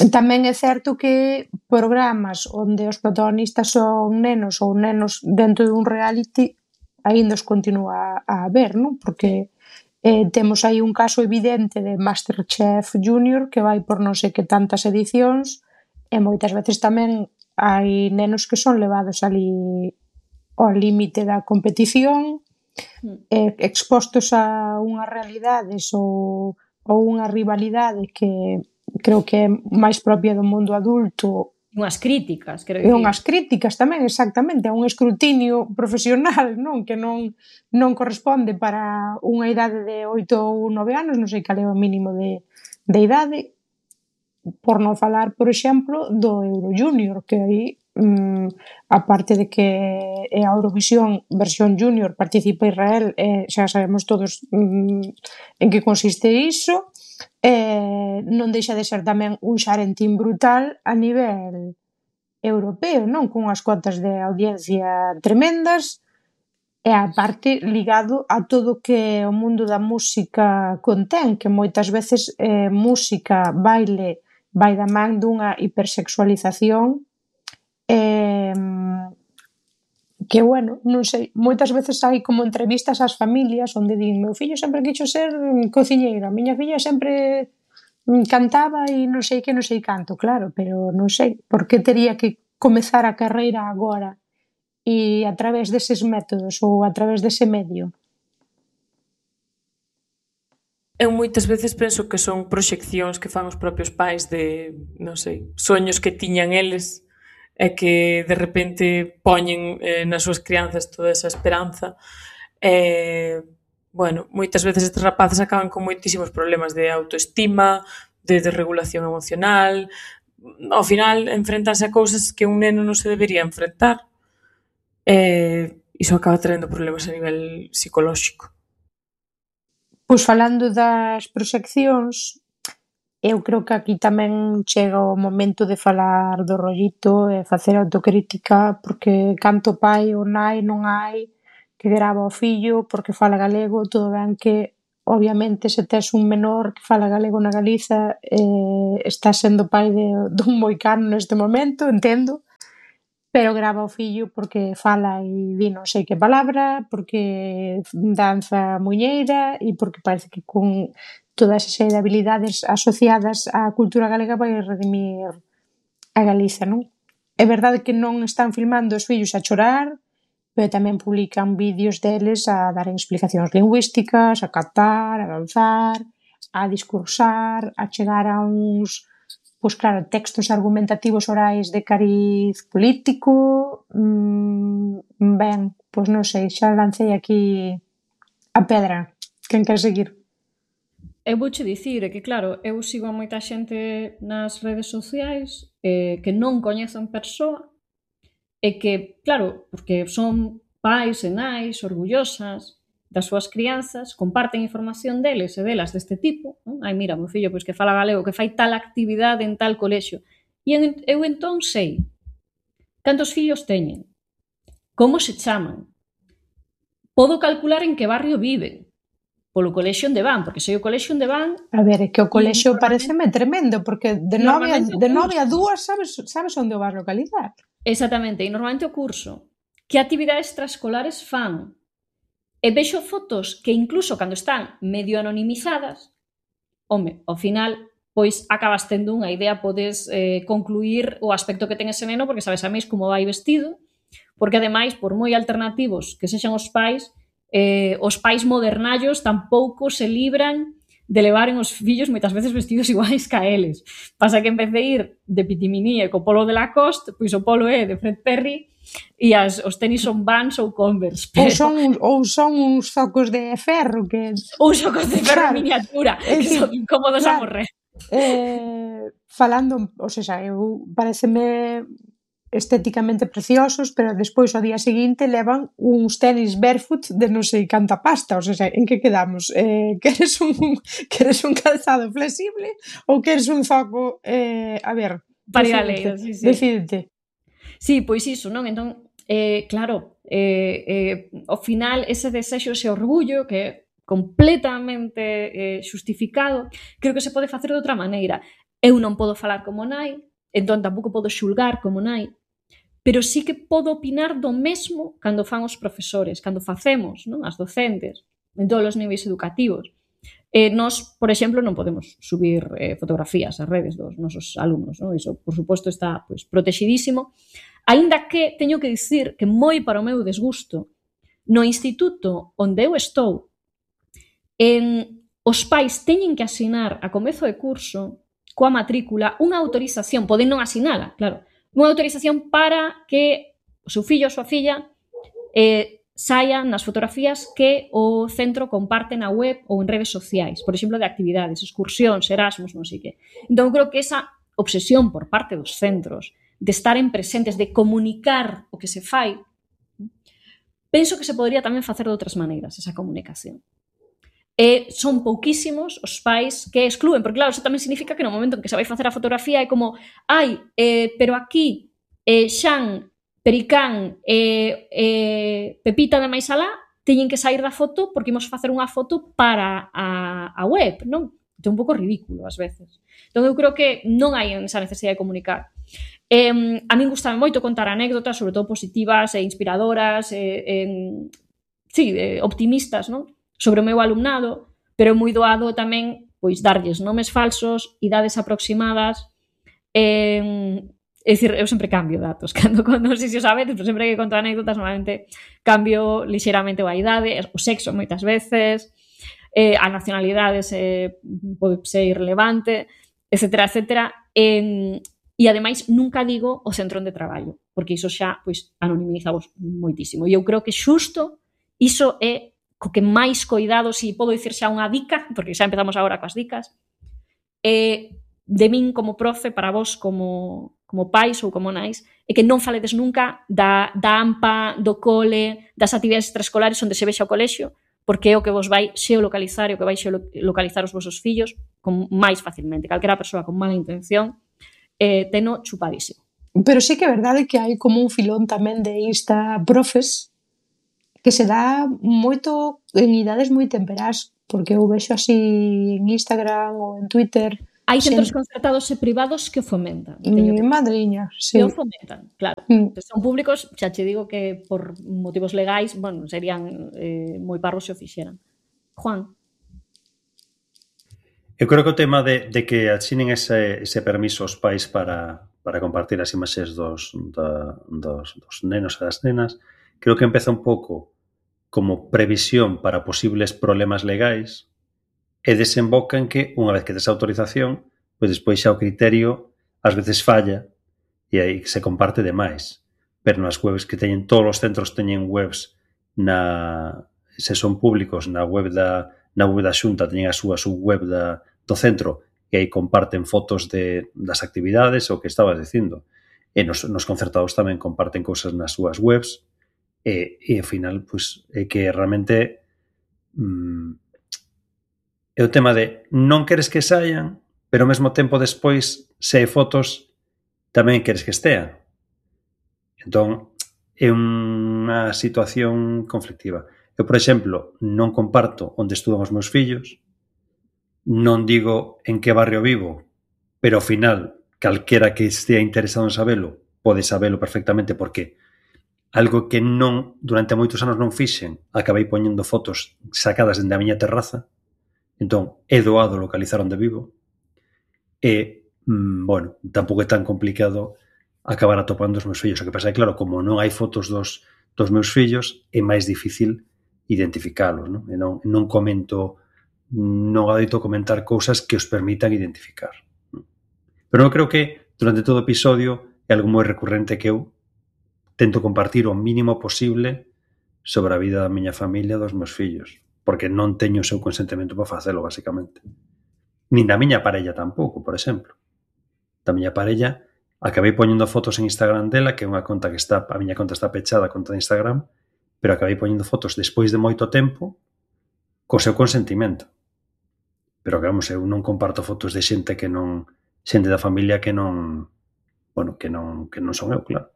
[SPEAKER 3] Tamén é certo que programas onde os protagonistas son nenos ou nenos dentro dun reality aínda os continúa a haber, non? Porque eh, temos aí un caso evidente de Masterchef Junior que vai por non sei que tantas edicións e moitas veces tamén hai nenos que son levados ali ao límite da competición eh, expostos a unhas realidades ou ou unha rivalidade que creo que é máis propia do mundo adulto.
[SPEAKER 2] Unhas críticas, quero
[SPEAKER 3] dicir. E unhas críticas tamén, exactamente, a un escrutinio profesional, non, que non non corresponde para unha idade de oito ou nove anos, non sei cal é o mínimo de, de idade, por non falar, por exemplo, do Euro Junior, que aí, mmm, aparte de que é a Eurovisión versión Junior, participa Israel, e xa sabemos todos mmm, en que consiste iso, eh, non deixa de ser tamén un xarentín brutal a nivel europeo, non? Con as cuotas de audiencia tremendas, e aparte ligado a todo o que o mundo da música contén, que moitas veces eh, música, baile, vai da man dunha hipersexualización eh, que, bueno, non sei, moitas veces hai como entrevistas ás familias onde din, meu fillo sempre quixo ser cociñeiro, a miña filla sempre cantaba e non sei que, non sei canto, claro, pero non sei, por que tería que comezar a carreira agora e a través deses métodos ou a través dese medio?
[SPEAKER 1] Eu moitas veces penso que son proxeccións que fan os propios pais de, non sei, soños que tiñan eles e que de repente poñen eh, nas súas crianzas toda esa esperanza. E, bueno, moitas veces estes rapaces acaban con moitísimos problemas de autoestima, de desregulación emocional, ao final enfrentarse a cousas que un neno non se debería enfrentar. E iso acaba traendo problemas a nivel psicolóxico.
[SPEAKER 3] Pois falando das proxeccións, eu creo que aquí tamén chega o momento de falar do rollito e facer autocrítica, porque canto pai ou nai non hai que grava o fillo porque fala galego. Todo ben que, obviamente, se tes un menor que fala galego na Galiza, eh, está sendo pai de, dun moicano neste momento, entendo, pero grava o fillo porque fala e di non sei que palabra, porque danza muñeira e porque parece que con todas as habilidades asociadas á cultura galega vai redimir a Galiza, non? É verdade que non están filmando os fillos a chorar, pero tamén publican vídeos deles a daren explicacións lingüísticas, a cantar, a danzar, a discursar, a chegar a uns, pois claro, textos argumentativos orais de cariz político. Mm, ben, pois non sei, xa lancei aquí a pedra. Quen quer seguir?
[SPEAKER 2] Eu vouche dicir, é que claro, eu sigo a moita xente nas redes sociais eh, que non coñezo en persoa e que, claro, porque son pais e nais orgullosas das súas crianzas, comparten información deles e delas deste tipo, non? Ai, mira, meu fillo pois que fala galego, que fai tal actividade en tal colexio. E en, eu entón sei cantos fillos teñen, como se chaman, podo calcular en que barrio viven, polo colexio onde van, porque sei o colexio onde van...
[SPEAKER 3] A ver, é que o colexio pareceme tremendo, porque de nove a, de nove a dúas sabes, sabes onde o vas localizar.
[SPEAKER 2] Exactamente, e normalmente o curso. Que actividades extraescolares fan? E vexo fotos que incluso cando están medio anonimizadas, home, ao final, pois acabas tendo unha idea, podes eh, concluir o aspecto que ten ese neno, porque sabes a máis como vai vestido, porque ademais, por moi alternativos que sexan os pais, Eh, os pais modernallos tampouco se libran de levaren os fillos moitas veces vestidos iguais que a eles. Pasa que en vez de ir de pitiminí co polo de Lacoste, pois o polo é de Fred Perry e as, os tenis son Vans ou Converse.
[SPEAKER 3] Pero... Ou, son, ou son uns zocos de ferro que...
[SPEAKER 2] Ou zocos de ferro claro. Miniatura, que sí, son incómodos claro. A morrer.
[SPEAKER 3] Eh, falando, ou sea, eu pareceme... estéticamente preciosos, pero despois ao día seguinte levan uns tenis barefoot de non sei canta pasta, ou sea, en que quedamos? Eh, queres un queres un calzado flexible ou queres un foco, eh, a ver,
[SPEAKER 2] para ir a leiro, sí, sí.
[SPEAKER 3] Decídete.
[SPEAKER 2] Sí, pois iso, non? Entón, eh, claro, eh, eh, ao final ese desexo, ese orgullo que é completamente eh, xustificado, creo que se pode facer de outra maneira. Eu non podo falar como nai, entón tampouco podo xulgar como nai, pero sí que podo opinar do mesmo cando fan os profesores, cando facemos, non, as docentes, en todos os niveis educativos. Eh, nós, por exemplo, non podemos subir eh, fotografías ás redes dos nosos alumnos, non? Iso, por suposto, está pois, protexidísimo. Aínda que teño que dicir que moi para o meu desgusto, no instituto onde eu estou, en, os pais teñen que asinar a comezo de curso coa matrícula unha autorización, poden non asinala, claro, unha autorización para que o seu fillo ou a súa filla eh, saian nas fotografías que o centro comparte na web ou en redes sociais, por exemplo, de actividades, excursións, Erasmus, non sei que. Entón, creo que esa obsesión por parte dos centros de estar en presentes, de comunicar o que se fai, penso que se podría tamén facer de outras maneiras, esa comunicación. E son pouquísimos os pais que exclúen, porque claro, eso tamén significa que no momento en que se vai facer a fotografía é como, ai, eh, pero aquí eh, Xan, Pericán e eh, eh, Pepita de máis alá teñen que sair da foto porque imos facer unha foto para a, a web, non? É un pouco ridículo ás veces. Entón eu creo que non hai esa necesidade de comunicar. Eh, a min gustame moito contar anécdotas, sobre todo positivas e inspiradoras, e, eh, sí, eh, optimistas, non? Sobre o meu alumnado, pero é moi doado tamén pois darlles nomes falsos, idades aproximadas. Eh, é dicir, eu sempre cambio datos, cando, cando non sei se o sabedes, pero sempre que conto anécdotas normalmente cambio lixeiramente a idade, o sexo moitas veces, eh, a nacionalidade se, pode ser irrelevante, etcétera, etcétera. Eh, e ademais nunca digo o centro onde traballo, porque iso xa pois anonimizamos moitísimo. E eu creo que xusto iso é co que máis coidado, se podo dicir xa unha dica, porque xa empezamos agora coas dicas, é de min como profe para vos como, como pais ou como nais é que non faledes nunca da, da AMPA, do cole, das actividades extraescolares onde se vexa o colexio, porque é o que vos vai xeolocalizar e o que vai xeolocalizar os vosos fillos con máis facilmente. Calquera persoa con mala intención eh, teno chupadísimo.
[SPEAKER 3] Pero sí que é verdade que hai como un filón tamén de Insta profes que se dá moito en idades moi temperás, porque eu vexo así en Instagram ou en Twitter.
[SPEAKER 2] Hai centros concertados e privados que o fomentan.
[SPEAKER 3] Mi madriña, sí.
[SPEAKER 2] Que o fomentan, claro. Mm. Son públicos, xa che digo que por motivos legais, bueno, serían eh, moi parvos se o fixeran. Juan.
[SPEAKER 4] Eu creo que o tema de, de que asinen ese, ese permiso aos pais para, para compartir as imaxes dos, da, dos, dos nenos e das nenas, creo que empeza un pouco como previsión para posibles problemas legais e desemboca en que, unha vez que des autorización, pois despois xa o criterio ás veces falla e aí se comparte demais. Pero nas webs que teñen, todos os centros teñen webs na, se son públicos, na web da, na web da Xunta teñen a súa subweb da, do centro e aí comparten fotos de, das actividades o que estabas dicindo. E nos, nos concertados tamén comparten cousas nas súas webs. E, e ao final, pois, é que realmente mm, é o tema de non queres que saian, pero ao mesmo tempo despois, se hai fotos, tamén queres que estean. Entón, é unha situación conflictiva. Eu, por exemplo, non comparto onde estudan os meus fillos, non digo en que barrio vivo, pero ao final, calquera que estea interesado en sabelo, pode sabelo perfectamente porque algo que non, durante moitos anos non fixen, acabei poñendo fotos sacadas dende a miña terraza, entón é doado localizar onde vivo, e, mm, bueno, tampouco é tan complicado acabar atopando os meus fillos. O que pasa é, claro, como non hai fotos dos, dos meus fillos, é máis difícil identificalos, non? E non, non comento, non adoito comentar cousas que os permitan identificar. Non? Pero eu creo que durante todo o episodio é algo moi recurrente que eu tento compartir o mínimo posible sobre a vida da miña familia e dos meus fillos, porque non teño o seu consentimento para facelo, basicamente. Nin da miña parella tampouco, por exemplo. Da miña parella, acabei poñendo fotos en Instagram dela, que é unha conta que está, a miña conta está pechada, a conta de Instagram, pero acabei poñendo fotos despois de moito tempo co seu consentimento. Pero que, vamos, eu non comparto fotos de xente que non, xente da familia que non, bueno, que non, que non son eu, claro.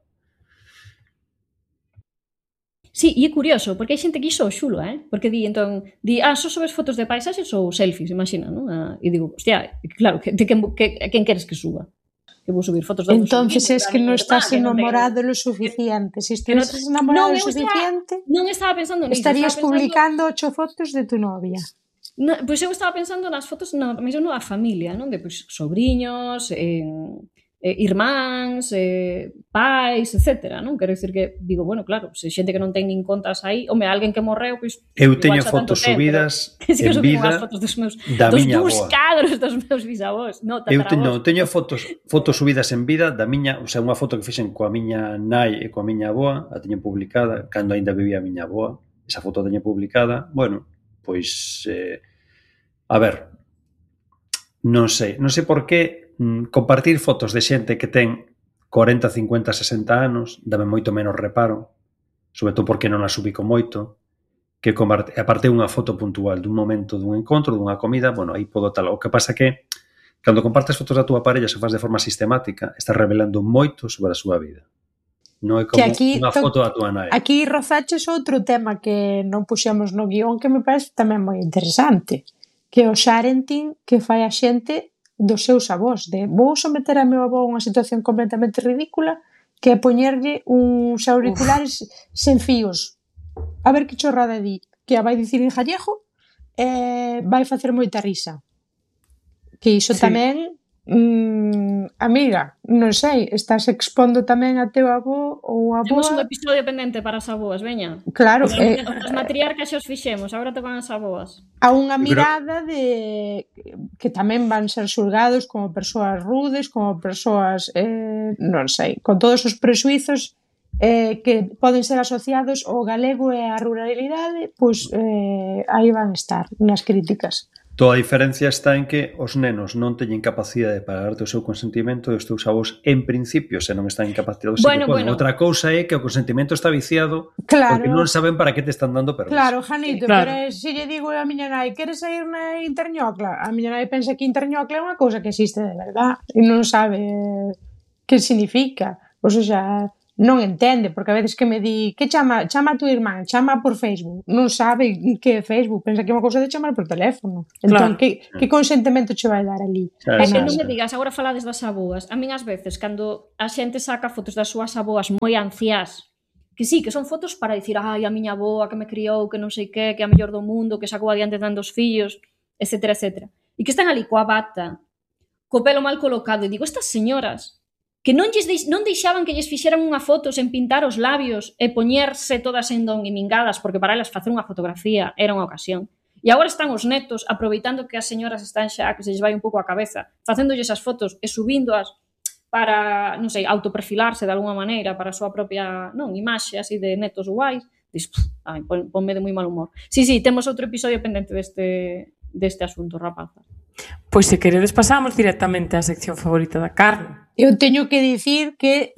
[SPEAKER 2] Sí, e é curioso, porque hai xente que iso o xulo, eh? Porque di, entón, di, ah, só subes fotos de paisaxes ou selfies, imagina, non? Ah, e digo, hostia, claro, que, de quen, que, a quen queres que suba? Que vou subir fotos de
[SPEAKER 3] entonces es que non estás enamorado lo suficiente. Se estuvieses enamorado lo suficiente,
[SPEAKER 2] non estaba pensando nisso.
[SPEAKER 3] Estarías publicando ocho fotos de tu novia.
[SPEAKER 2] No, pois eu estaba pensando nas fotos na mesmo da familia, non? De pois sobriños, eh, eh, irmáns, eh, pais, etcétera, non? Quero dicir que, digo, bueno, claro, se xente que non ten nin contas aí, home, alguén que morreu, pois...
[SPEAKER 4] Eu teño fotos subidas en vida
[SPEAKER 2] fotos dos meus,
[SPEAKER 4] da
[SPEAKER 2] dos
[SPEAKER 4] miña
[SPEAKER 2] dos
[SPEAKER 4] avoa.
[SPEAKER 2] cadros dos meus bisavós. No,
[SPEAKER 4] eu teño, teño fotos, fotos subidas en vida da miña, o sea, unha foto que fixen coa miña nai e coa miña avoa, a teño publicada, cando aínda vivía a miña avoa, esa foto a teño publicada, bueno, pois... Eh, a ver, non sei, non sei por que compartir fotos de xente que ten corenta, cincuenta, sesenta anos dame moito menos reparo, sobre todo porque non a subico moito, que comparte, aparte unha foto puntual dun momento, dun encontro, dunha comida, bueno, aí podo tal. O que pasa que cando compartes fotos da túa parella se faz de forma sistemática, estás revelando moito sobre a súa vida. Non é como aquí, unha foto da túa nai.
[SPEAKER 3] Aquí rozaches outro tema que non puxemos no guión que me parece tamén moi interesante, que é o sharenting que fai a xente dos seus avós, de vou someter a meu avó a unha situación completamente ridícula que é poñerlle uns auriculares Uf. sen fíos. A ver que chorrada di, que a vai dicir en gallego e vai facer moita risa. Que iso sí. tamén, mmm, amiga, non sei, estás expondo tamén a teu avó ou a
[SPEAKER 2] aboa. Temos un episodio pendente para as aboas, veña.
[SPEAKER 3] Claro.
[SPEAKER 2] Eh, as matriarcas xa os fixemos, agora tocan as aboas.
[SPEAKER 3] A unha mirada de que tamén van ser xulgados como persoas rudes, como persoas, eh, non sei, con todos os prexuizos eh, que poden ser asociados ao galego e á ruralidade, pois eh, aí van estar nas críticas.
[SPEAKER 4] Toda a diferencia está en que os nenos non teñen capacidade para darte o seu consentimento e os teus avós, en principio, se non están incapacitados,
[SPEAKER 2] Bueno,
[SPEAKER 4] sí que poden.
[SPEAKER 2] bueno.
[SPEAKER 4] Outra cousa é que o consentimento está viciado
[SPEAKER 3] Claro.
[SPEAKER 4] porque non saben para que te están dando permiso.
[SPEAKER 3] Claro, Janito,
[SPEAKER 1] Claro.
[SPEAKER 3] pero se lle digo a miña nai, queres sair na Interñocla? A miña nai pensa que Interñocla é unha cousa que existe de verdad e non sabe que significa. O sea, non entende, porque a veces que me di que chama, chama a tu irmán, chama por Facebook, non sabe que é Facebook, pensa que é unha cousa de chamar por teléfono. Entón,
[SPEAKER 1] Claro.
[SPEAKER 3] que, que consentimento che vai dar ali?
[SPEAKER 4] Xa,
[SPEAKER 2] É
[SPEAKER 4] xa,
[SPEAKER 2] que non
[SPEAKER 4] xa.
[SPEAKER 2] me digas, agora falades das aboas. A min ás veces, cando a xente saca fotos das súas aboas moi anciás, que sí, que son fotos para dicir, ai, a miña aboa que me criou, que non sei que, que é a mellor do mundo, que sacou adiante dando os fillos, etcétera, etcétera. E que están ali coa bata, co pelo mal colocado, e digo, estas señoras que non, lles deix, non deixaban que lles fixeran unha foto sen pintar os labios e poñerse todas en don e mingadas, porque para elas facer unha fotografía era unha ocasión. E agora están os netos aproveitando que as señoras están xa, que se lles vai un pouco a cabeza, facéndolles as fotos e subíndoas para, non sei, autoperfilarse de alguma maneira para a súa propia, non, imaxe así de netos guais. Dis, ai, pon, ponme de moi mal humor. Sí, sí, temos outro episodio pendente deste, deste asunto, rapazas.
[SPEAKER 1] Pois se queredes pasamos directamente á sección favorita da Carmen.
[SPEAKER 3] Eu teño que dicir que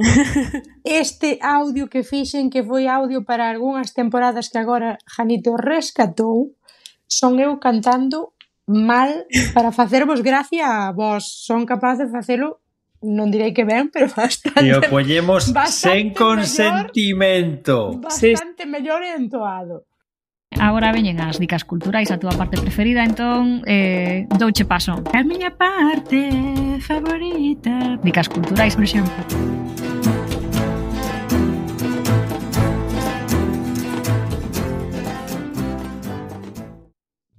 [SPEAKER 3] este audio que fixen, que foi audio para algunhas temporadas que agora Janito rescatou, son eu cantando mal para facervos gracia a vos. Son capaz de facelo, non direi que ben, pero bastante.
[SPEAKER 4] E o poñemos sen
[SPEAKER 3] bastante
[SPEAKER 4] consentimento.
[SPEAKER 3] Bastante mellor entoado.
[SPEAKER 2] Agora veñen as dicas culturais, a túa parte preferida, entón eh, douche paso. A miña parte favorita. Dicas culturais, por exemplo.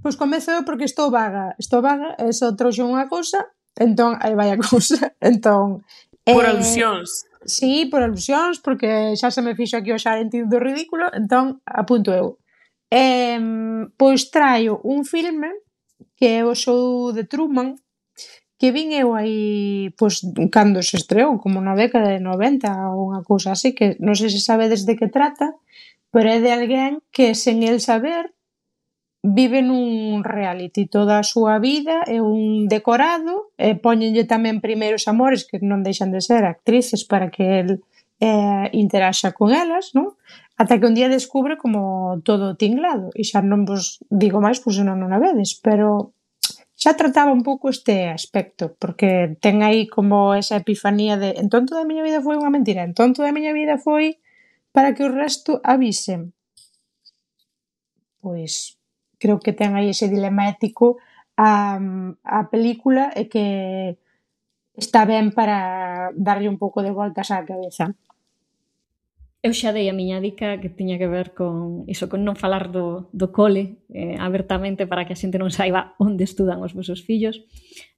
[SPEAKER 3] Pois comezo eu porque estou vaga. Estou vaga e só trouxe unha cousa, entón, aí vai a cousa. Entón,
[SPEAKER 1] Por
[SPEAKER 3] eh,
[SPEAKER 1] alusións.
[SPEAKER 3] Sí, por alusións, porque xa se me fixo aquí o xarentín do ridículo, entón apunto eu. Eh, pois traio un filme que é o Show de Truman, que vin eu aí, pois, cando se estreou, como na década de noventa ou unha cousa así, que non sei se sabedes de que trata, pero é de alguén que, sen el saber, vive nun reality toda a súa vida, é un decorado, e póñenlle tamén primeiros amores que non deixan de ser actrices para que el eh, interaxa con elas, non? Ata que un día descubre como todo tinglado, e xa non vos digo máis, pois non non a vedes, pero xa trataba un pouco este aspecto, porque ten aí como esa epifanía de entón toda a miña vida foi unha mentira, entón toda a miña vida foi para que o resto avisen. Pois creo que ten aí ese dilema ético a, a película e que está ben para darlle un pouco de voltas á cabeza.
[SPEAKER 2] Eu xa dei a miña dica que tiña que ver con iso, con non falar do, do cole eh, abertamente para que a xente non saiba onde estudan os vosos fillos.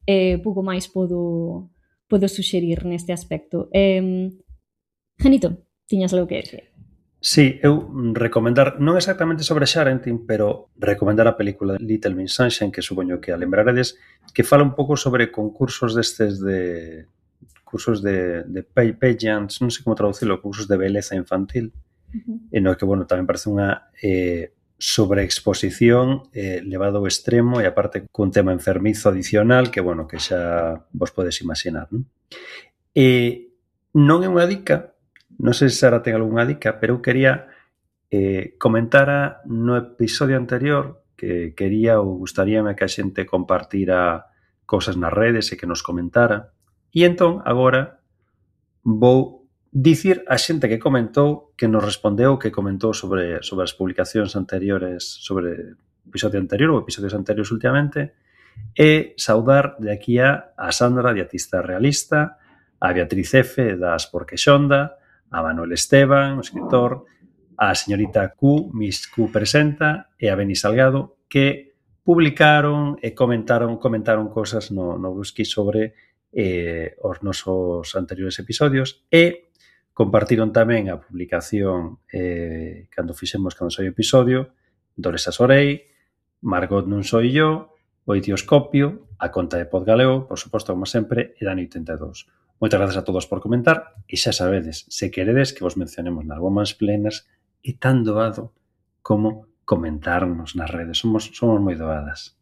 [SPEAKER 2] Eh, pouco máis podo, podo suxerir neste aspecto. Eh, Janito, tiñas algo que decir?
[SPEAKER 4] Sí, eu recomendar, non exactamente sobre Sharentin, pero recomendar a película Little Miss Sunshine, que supoño que a lembraredes, que fala un pouco sobre concursos destes de cursos de, de pageants, non sei como traducilo, cursos de beleza infantil, uh-huh. E no que, bueno, tamén parece unha eh, sobreexposición eh, levado ao extremo e aparte cun tema enfermizo adicional que, bueno, que xa vos podes imaginar, non? E non é unha dica, non sei se Sara ten algunha dica, pero eu quería eh, comentar no episodio anterior que quería ou gustaríame que a xente compartira cousas nas redes e que nos comentara. E entón, agora, vou dicir a xente que comentou, que nos respondeu, que comentou sobre, sobre as publicacións anteriores, sobre o episodio anterior ou episodios anteriores últimamente, e saudar de aquí a, a Sandra, de Artista Realista, a Beatriz F, das Porquexonda, a Manuel Esteban, o escritor, a señorita Q, Miss Q Presenta, e a Beni Salgado, que publicaron e comentaron comentaron cosas no, no Brusqui sobre eh, os nosos anteriores episodios e compartiron tamén a publicación eh, cando fixemos cando foi o episodio Dolesa Sorei, Margot non soi yo, o Etioscopio, a conta de Podgaleo, por suposto, como sempre, e Dani oitenta e dous. Moitas grazas a todos por comentar e xa sabedes, se queredes que vos mencionemos nas bombas plenas, é tan doado como comentarnos nas redes. Somos, somos moi doadas.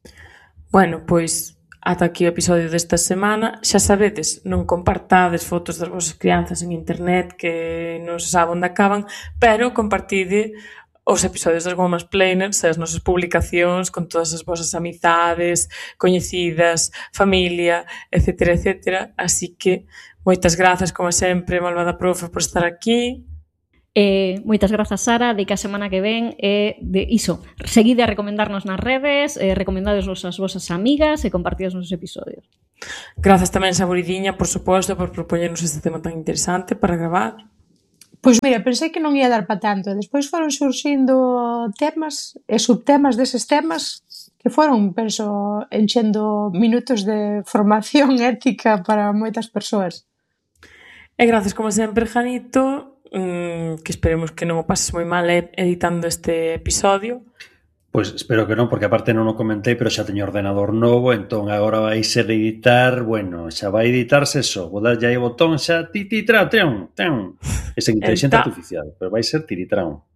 [SPEAKER 1] Bueno, pois ata aquí o episodio desta semana. Xa sabedes, non compartades fotos das vosas crianzas en internet que non se sabe onde acaban, pero compartide os episodios das Gomas Planers e as nosas publicacións con todas as vosas amizades, coñecidas, familia, etcétera, etcétera. Así que moitas grazas, como sempre, malvada profe, por estar aquí.
[SPEAKER 2] Eh, moitas grazas, Sara, de que a semana que ven é eh, de iso, seguide a recomendarnos nas redes, eh, recomendades as vosas amigas e compartides os nosos episodios.
[SPEAKER 1] Grazas tamén, Saboridiña, por suposto, por propoñernos este tema tan interesante para gravar.
[SPEAKER 3] Pois mira, pensei que non ia dar para tanto, despois foron surxindo temas e subtemas deses temas que foron, penso, enchendo minutos de formación ética para moitas persoas.
[SPEAKER 1] E grazas, como sempre, Janito, que esperemos que non o pases moi mal editando este episodio.
[SPEAKER 4] Pois espero que non, porque aparte non o comentei, pero xa teño ordenador novo, entón agora vai ser editar, bueno, xa vai editarse só, vou darlle aí o botón xa tititrao, teon, teon. Esa inteligencia
[SPEAKER 1] Enta...
[SPEAKER 4] artificial, pero vai ser tiritrao.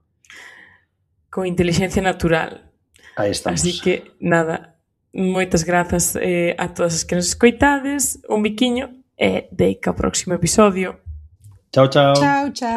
[SPEAKER 1] Con inteligencia natural.
[SPEAKER 4] Aí estamos.
[SPEAKER 1] Así que, nada, moitas grazas eh, a todas as que nos escoitades, un biquiño e deica o próximo episodio.
[SPEAKER 4] Chao, chao.
[SPEAKER 3] Chao, chao.